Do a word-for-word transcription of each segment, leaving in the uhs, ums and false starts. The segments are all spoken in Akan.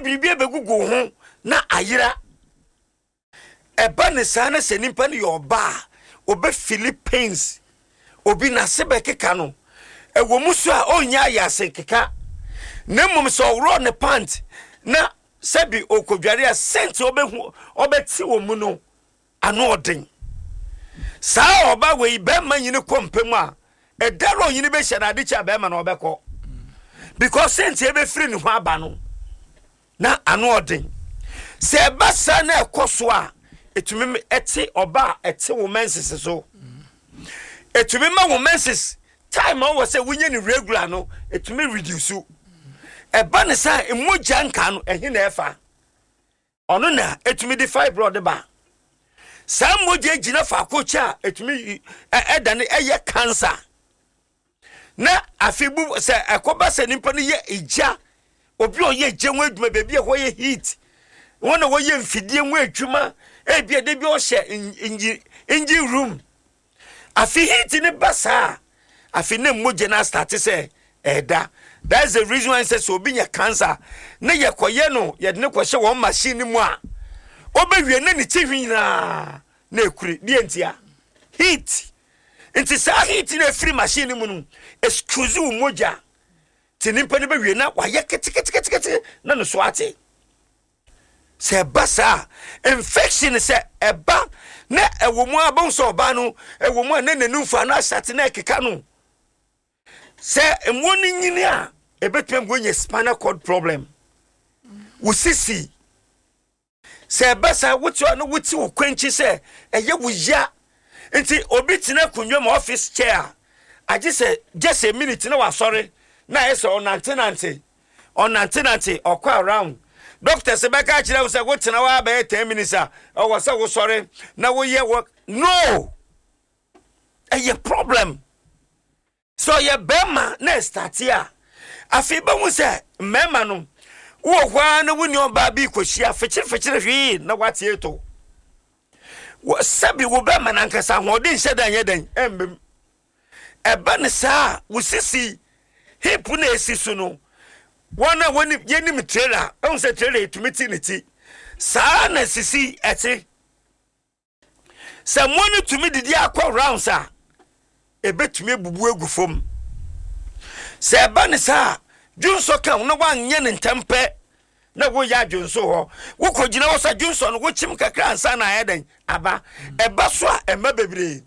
Biribi abɛgugu ho na ayera. Ɛba ne saa na sɛ nipa no yɛ ɔbaa a, ɔbɛfeel pains. Obi n'ase bɛkeka no. Ɛwɔ mu so a ɔnyɛ ayɛ ase keka, na mmom sɛ ɔworɔ ne pant na sɛbi ɔkɔdware a, scent ɔbɛhu ɔbɛte wɔ mu no ano ɔden. Saa ɔba wei, bɛrima nyini kɔ mpɛ mu a, ɛda no ɔnyini bɛhyɛ no ade kyɛ a, bɛrima no ɔbɛkɔ, because scent ɛbɛfiri ne ho aba no na ano ɔden. Sɛ ɛba saa na ɛkɔ so a, ɛtumi ɛte ɔba a ɛte wo menses so. Ɛtumi ma wo menses time a wɔwɔ sɛ wonyɛ ne regular no, ɛtumi reduce. Ɛba ne sɛ mogya nka no ɛhe na ɛfa ɔno na ɛtumi de fibroid ba. Saa mogya gyina faako kyɛ a, ɛtumi ɛda ne ɛyɛ cancer. Na afei bu sɛ ɛkɔba sɛ nipa no yɛ egya, obi a ɔyɛ egya ho adwuma, baabi a ɛhɔ yɛ heat, wɔn a wɔyɛ mfidie ho adwuma, ebi a de bi ɔhyɛ engine engine room, afei heat ne ba saa, afei ne mogya no astart sɛ ɛda. That's the reason why sɛ sɛ obi nya cancer ne yɛkɔyɛ no, yɛde ne kɔhyɛ wɔn machine no mu a, ɔbɛwie ne ne ti hwi nyinaa na ekuri deɛ ntia heat. Nti saa heat na efiri machine no mu no excuse wo mogya te nipa no bɛwie na wayɛ keteketekete na ne so ate. Sɛ ɛba saa infection, sɛ ɛba na ɛwɔ mu a, bɛn sɛ ɔbaa no ɛwɔ mu a, na n'anum fa no ahyate na ɛkeka no. Sɛ mmoa no nyini a, ɛbɛtumi ama woanya spinal cord problem, wo sisi. Sɛ ɛba saa, wote hɔ no, wote wo kwankyi sɛ ɛyɛ wo ya. Nti obi tena akonnwa mu, office chair a, agye sɛ just a minute na wasɔre na ayɛ sɛ ɔnantenante ɔnantenante ɔkɔ around. Doctor sɛ bɛka kyerɛ wo sɛ wotena hɔ abɛyɛ ten minutes a, ɛwɔ sɛ wosɔre na woyɛ wɔ no, ɛyɛ problem. Sɛ ɔyɛ bɛrima na ɛstart a, afei bɛhu sɛ mmarima no wowɔ hɔ a na wo nua ɔbaa bi kɔhyia fikyirifikyiri hwee na wate eto. Sɛbi, wo bɛrima nankasa ahoɔden nhyɛ dan nyɛ dan ɛmbɛm. Ɛba ne saa, wo sisi hip na esi so no, wɔn a wɔnim yɛnim trailer ɛhu sɛ trailer etumi ti ne ti saa na sisi ɛte. Sɛ mmoa no tumi didi akɔ rounds a, ebetumi ebubu egu fam. Sɛ ɛba ne saa, dwonsɔ ka na wanyɛ ne ntɛm pɛ na woyɛ adwonso hɔ, wokɔ gyina hɔ sɛ dwonsɔ no, wokyim kakra ansa na ayɛ dɛn aba. Ɛba so a, ɛma bebree.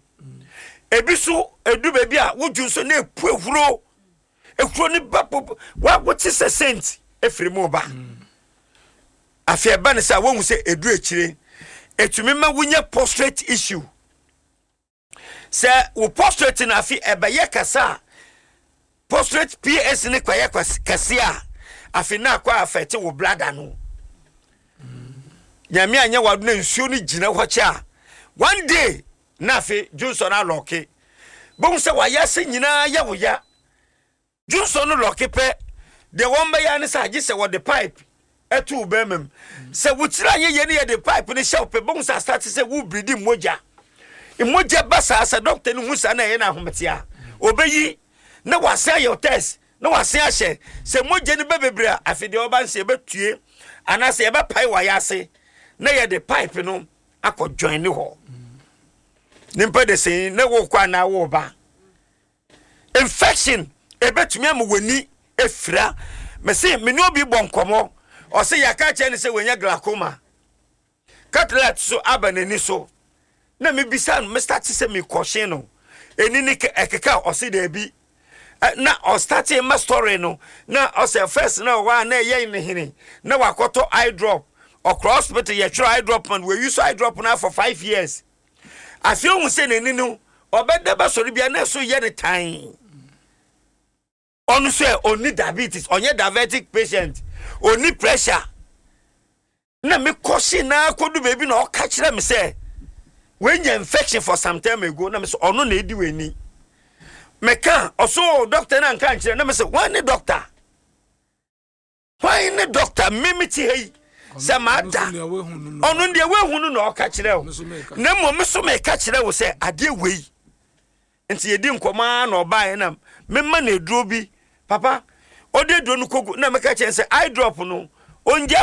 Ebi so edu baabi a wodwonso na epu ehuro, ehuro ne ba pop wa, wote sɛ scent efiri mu ba. Afei ɛba ne sɛ wohu sɛ edu akyire, etumi ma wonya prostate issue. Sɛ wo prostate na afei ɛbɛyɛ kɛse a, prostate P S ne kɔyɛ kɛse a, afei na akɔ affect wo bladder no. Nyame anyɛ wado na nsuo no gyina hɔ kyɛ a, one day na afei dwonsɔ no alock. Bohu sɛ wayɛ ase nyinaa yɛ wo ya. Dwonsɔ no lock pɛ deɛ, wɔn bɛyɛ ne sɛ agye sɛ wɔde pipe ɛto wo bɛrima mu. Sɛ wokyerɛ anyɛ yɛ ne yɛde pipe no hyɛ wo pɛ, bohu sɛ astart sɛ wo bleed mogya. Mogya ba saa, sɛ doctor no hu saa na ɛyɛ no ahomete a, ɔbɛyi na wasen ayɛ test na wasen ahyɛ. Sɛ mogya no bɛ bebree a, afei deɛ ɔba nso yɛbɛtue anaasɛ yɛbɛpae wayɛ ase na yɛde pipe no akɔ join ne hɔ. Nipa de sɛn na wokɔ anaa woba. Infection ebɛtumi ama w'ani efira. Mɛsi mene obi bɔ nkɔmɔ, ɔsɛ yɛaka kyerɛ ne sɛ wɔnya glaucoma, cataract so aba n'ani so. Na mebisa no, mestart sɛ mekɔhye no ɛni ne ɛkeka, ɔse daabi. Na ɔstart ma story no na ɔsɛ first na ɔwɔ a na ɛyɛ ne hene na wakɔtɔ eye drop. Ɔkɔ hospital, yɛtwerɛ eye drop man, wɔyi so eye drop no for five years. Afei ohun sɛ n'ani no ɔbɛda bɛsɔre bia na ɛso yɛ ne tan. Ɔno sɛ ɔni diabetes, ɔnyɛ diabetic patient, ɔni pressure. Na mekɔhye na akɔdu baabi na ɔka kyerɛ me sɛ wɔanya infection for some time ago. Na me sɛ ɔno na edi w'ani meka. Ɔso doctor na nka nkyerɛ na me sɛ, "Wɔn ne doctor? Hwan ne doctor? Mímí ti ha yi sɛ maa da ɔno deɛ wehu no na ɔka kyerɛ wo, na mmom me so meka kyerɛ wo sɛ adeɛ wei." Nti yɛdi nkɔmɔ ara na ɔbaeɛ na mema no aduro bi. Papa, ɔde aduro no kogu na meka kyerɛ sɛ eye drop no ɔngya.